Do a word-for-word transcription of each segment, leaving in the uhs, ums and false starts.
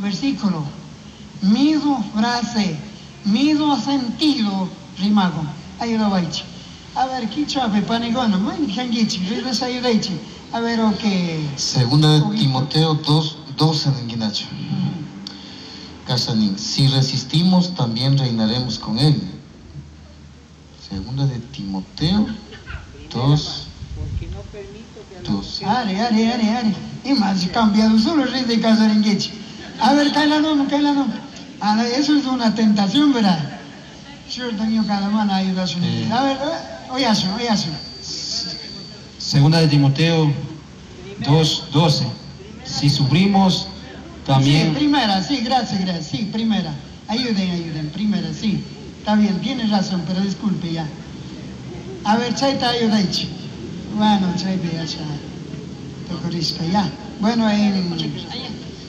versículo, mismo frase, mismo sentido rimagun. Ayudawaychik. A ver, quichuapi panikuna, mayqankichik, ridas ayudaychik. A ver, ok. Segunda de Timoteo dos, doce ninguinacho. Casanín, si resistimos, también reinaremos con él. Segunda de Timoteo dos, doce. Ari, ari, ari, ari. Y más cambiado solo rey de Casaringuichi. A ver, cae la nombre, cae la nombre. Ahora, eso es una tentación, ¿verdad? Cada mana ayuda a su Eh. A ver, oye, oye. Segunda de Timoteo dos, doce. Si sufrimos, también... Sí, primera, sí, gracias, gracias. Sí, primera. Ayuden, ayuden, primera, sí. Está bien, tiene razón, pero disculpe ya. A ver, chayta ayudaychi. Bueno, chayta ya, ya. Tocorisca, ya. Bueno, en,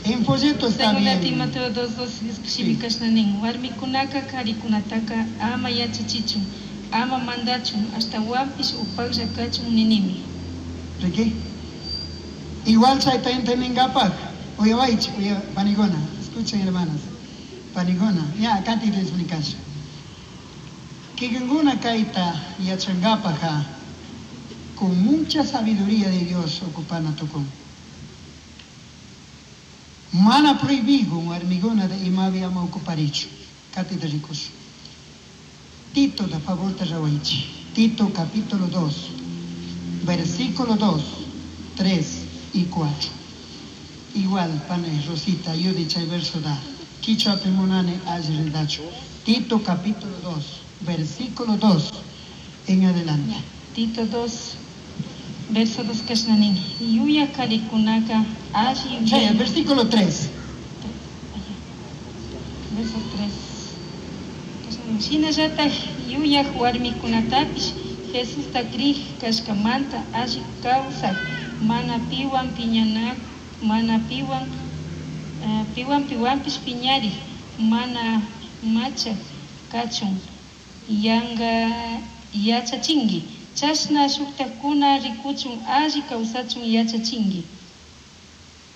en folleto está Segunda bien. Timoteo dos, dos, shimi kashna nin, warmikunaka karikunataka ama yachachichun, ama mandachun, ashtawanpish upaklla kachun ninimi. ¿De qué? Igual chayta entendingapaj. Oye, vaich, oye, panikuna, escuchen hermanas. Panikuna, ya, acá te explicas. Kikinkuna kayta yachangapaja con mucha sabiduría de Dios ocupana tukun. Mana prohibigo warmiguna de imabi ama ocuparichu. Kati de ricos. Tito de favor te rawaichi. Tito capítulo dos, versículo dos, tres y cuatro. Igual, pane Rosita, yo dicha el verso da. Quichua pemunane ajredacho. Tito capítulo dos, versículo dos en adelante. Tito dos, verso dos kashnanin. Yuya karikunaka alli Sí, el versículo tres. Verso tres. Shinallataj yuyaj warmikunatapish Jesusta krij kashkamanta alli kawsaj mana piwan piñanak, mana piwan, eh, piwan piwanpish piñarij, mana machaj kachun yanga yachachinki. Chashna shuktakuna rikuchun alli kawsachun yachachinki.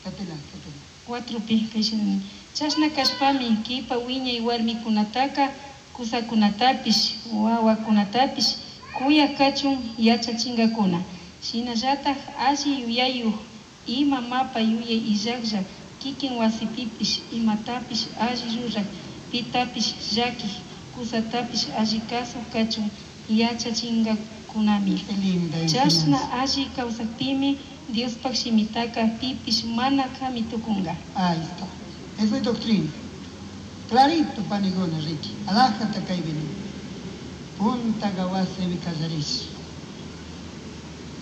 Katila, katila. Cuatro pi kayshina. Chashna kashpami kipa wiñay warmikunataka kusakunatapish wawakunatapish kuyaj kachun yachachinkakuna. Shinallataj alli yuyayuj ima mapa yuyay illaklla kikin wasipipish imatapish alli ruraj pitapish llakij kusatapish alli kasuj kachun yachachinkakunami. Qué linda Chashna enseñanza. alli kawsakpimi Diospaj shimitaka pipish mana kami tukunka. Ahí está. Esa es doctrina. Clarito, panikuna, Ricky. Alájate kay vini. Punta gawase vikallaris.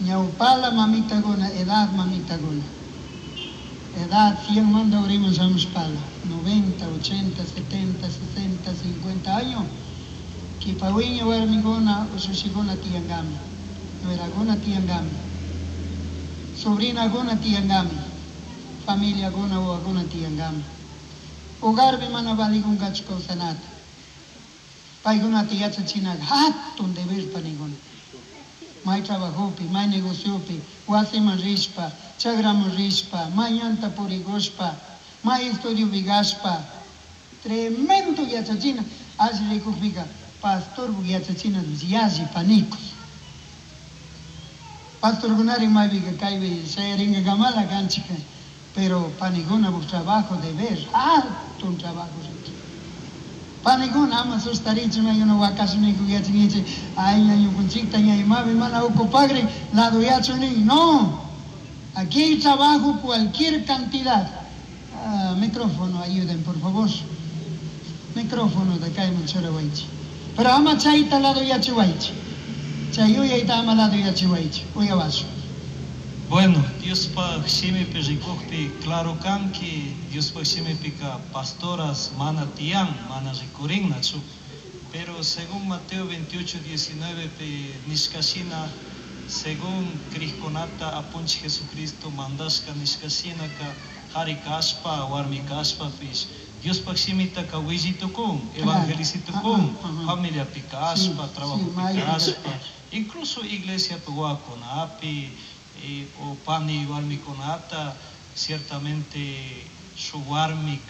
Ñaupala mamita guna, edad mamita guna. Edad cien manda abrimos pala. noventa, ochenta, setenta, sesenta, cincuenta años. Kipawiña warmiguna, usushiguna tiangami. Nueraguna tiangami. Sobrina guna tiangami. Familia guna o guna tiangami. Hogar mana valigun gachko sanata. Paiguna tiyachachina hatun deber paniguna. May trabajopi, may negociopi, wasiman rishpa, chagraman rishpa, mañanta purigushpa, may estudio vigashpa. Tremendo yachachina. Así rikukpika, pastor yachachina yashi panicos. Pastor gunari maypica kaypi shayaringa kamala kanchika. Pero panikuna bu trabajo deber, alto un trabajo. Panikuna ama sustarichu maykuna wakashuniku yachinkichik, ay ñañukunchikta ñañumapi mana ocupagrin, lado yachunin. No, aquí hay trabajo cualquier cantidad. Ah, micrófono, ayuden por favor. Micrófono de acá en Chorowaichi. Pero ama chayta lado yachiwaichi. Chayuyayta ama lado yachiwaichi. Uyawasu. Bueno, Diospaj shimipi rikukpi claro kanki, Diospaj shimipika pastoras mana tiyan, mana rikurinnachu. Pero según Mateo veintiocho, diecinueve pi nishkashina, según Crisconata apunchi Jesucristo mandashka nishkashinaka, hari kashpa, warmi kashpa pish, Diospaj shimitaka willitukun, evangelicitukun, Ajá, ajá. familia pikashpa, Sí, trabajo sí, mayo. pikashpa, incluso iglesia wakunapi, eh, o pani warmikunata, ciertamente su warmi